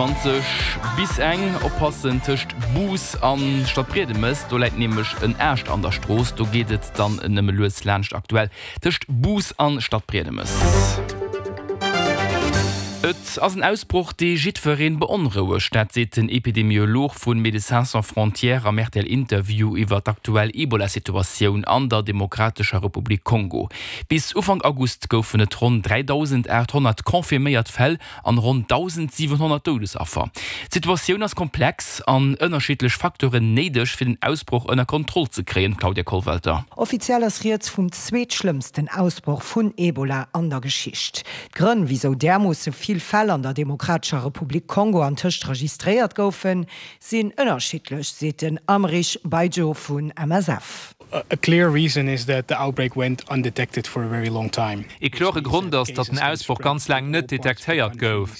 20 bis eng. Oppassen tëscht Bous an Stadbriedemes, do läit nämlech en Aascht an der Strooss. Do geet et dann nëmme lues laanscht aktuell tëscht Bous an Stadbriedemes. Et ass en Ausbroch, dee jiddweree beonrouegt. Dat seet den Epidemiolog vu Médecins Sans Frontières am RTL-Interview iwwer d'aktuell Ebola-Situatioun an der Demokratescher Republik Kongo. Bis Ufank August goufen et ronn 3.800 confirméiert Fäll an ronn 1.700 Doudesaffer. D'Situatioun ass komplex an ënnerschiddlech Facteuren néideg, fir den Ausbroch ënner Kontroll ze kréien, Claudia Kollwelter. Offiziell ass rieds vum zweetschlëmmsten Ausbroch vun Ebola an der Geschicht. D'Grënn, wisou därmoosse vill Fäll an der Demokratescher Republik Kongo antëscht registréiert goufen, sinn ënnerschiddlech, seet den Amrich Baidjo vun MSF. A clear reason is that the outbreak went undetected for a very long time. Ee klore Grond ass, datt den Ausbroch ganz laang net detektéiert gouf.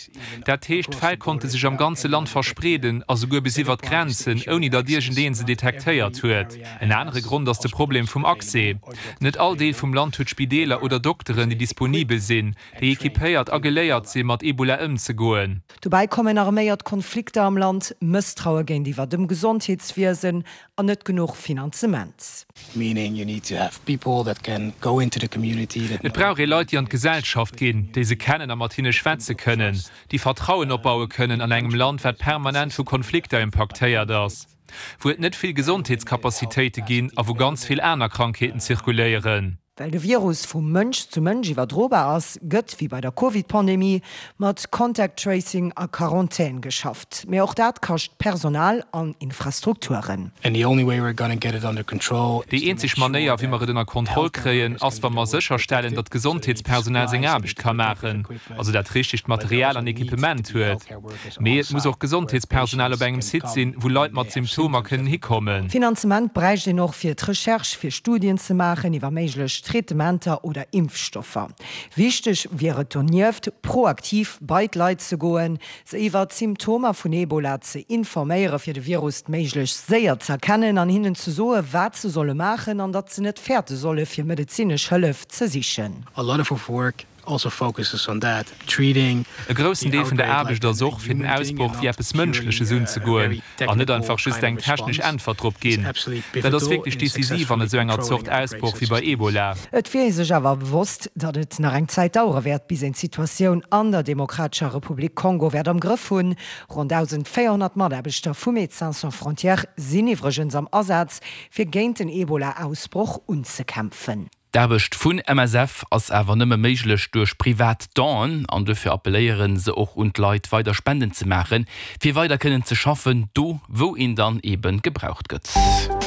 Dat heescht, d'Fäll konnte sech am ganze Land verspreeden a souguer bis iwwer d'Grenzen, ouni datt iergendee se detektéiert huet. En anere Grond ass de Problem vum Accès. Net all Deel vum Land huet Spideeler oder Dokteren, déi disponibel sinn, déi equipéiert a geléiert sinn, mat Ebola ëmzegoen. Dobäi kommen arméiert Konflikter am Land, Mësstraue géintiwwer dem Gesondheetswiesen an net genuch Finanzement. Et brauch ee Leit, déi an d'Gesellschaft ginn, déi se kennen a mat hinne schwätze kënnen, déi Vertrauen opbaue kënnen an engem Land, wat permanent vu Konflikter impaktéiert ass, wou et net vill Gesondheetscapacitéite ginn a wou ganz vill aner Krankheeten zirkuléieren. Well de Virus vu Mënsch zu Mënsch iwwerdrobar ass, gëtt, wéi bei der Covid-Pandemie, mat Contact Tracing a Quarantän geschafft. Mee och dat kascht Personal an Infrastrukturen. Déi eenzeg Manéier, wéi mer et ënner Kontroll kréien, ass, wa mer sécherstellen, datt d'Gesondheetspersonal seng Aarbecht ka maachen, also dat richtegt Material an Equipement huet. Mee et muss och Gesondheetspersonal op engem Site sinn, wou Leit mat Symptomer kënnen hikommen. Finanzement bräicht een och fir d'Recherche, fir Studien ze maachen iwwer méiglech Traitementer oder Impfstoffer. Wichteg wier et donieft, proaktiv bei d'Leit ze goen, se iwwer d'Symptomer vun Ebola ze informéiere fir de Virus méiglechst séier z'erkennen an hinnen ze soe wat se solle maachen an datt se net fäerte solle fir medezinesch Hëllef ze sichen. A lot of our work also focuses on that, treating E groussen Deel vun der Aarbecht ass och, fir den Ausbroch wéi eppes Mënschleches unzegoen an net einfach just eng technesch Äntwert drop ginn. Dat ass wierklech decisiv an esou enger Zort Ausbroch wéi bei Ebola. Et wier ee sech awer bewosst, datt et nach eng Zäit dauere wäert, bis een d'Situatioun an der Demokratescher Republik Kongo wäert am Grëff hunn. Ronn 1.400 Mataarbechter vu Médecins Sans Frontières sinn iwwregens am Asaz, fir géint den Ebola-Ausbroch unzekämpfen. D'Aarbecht vun MSF ass awer nëmme méiglech duerch privat Donen an duerfir appelléiere se och un d'Leit weider Spenden ze maachen, fir weider kënnen ze schaffen, do wou een dann eebe gebraucht gëtt.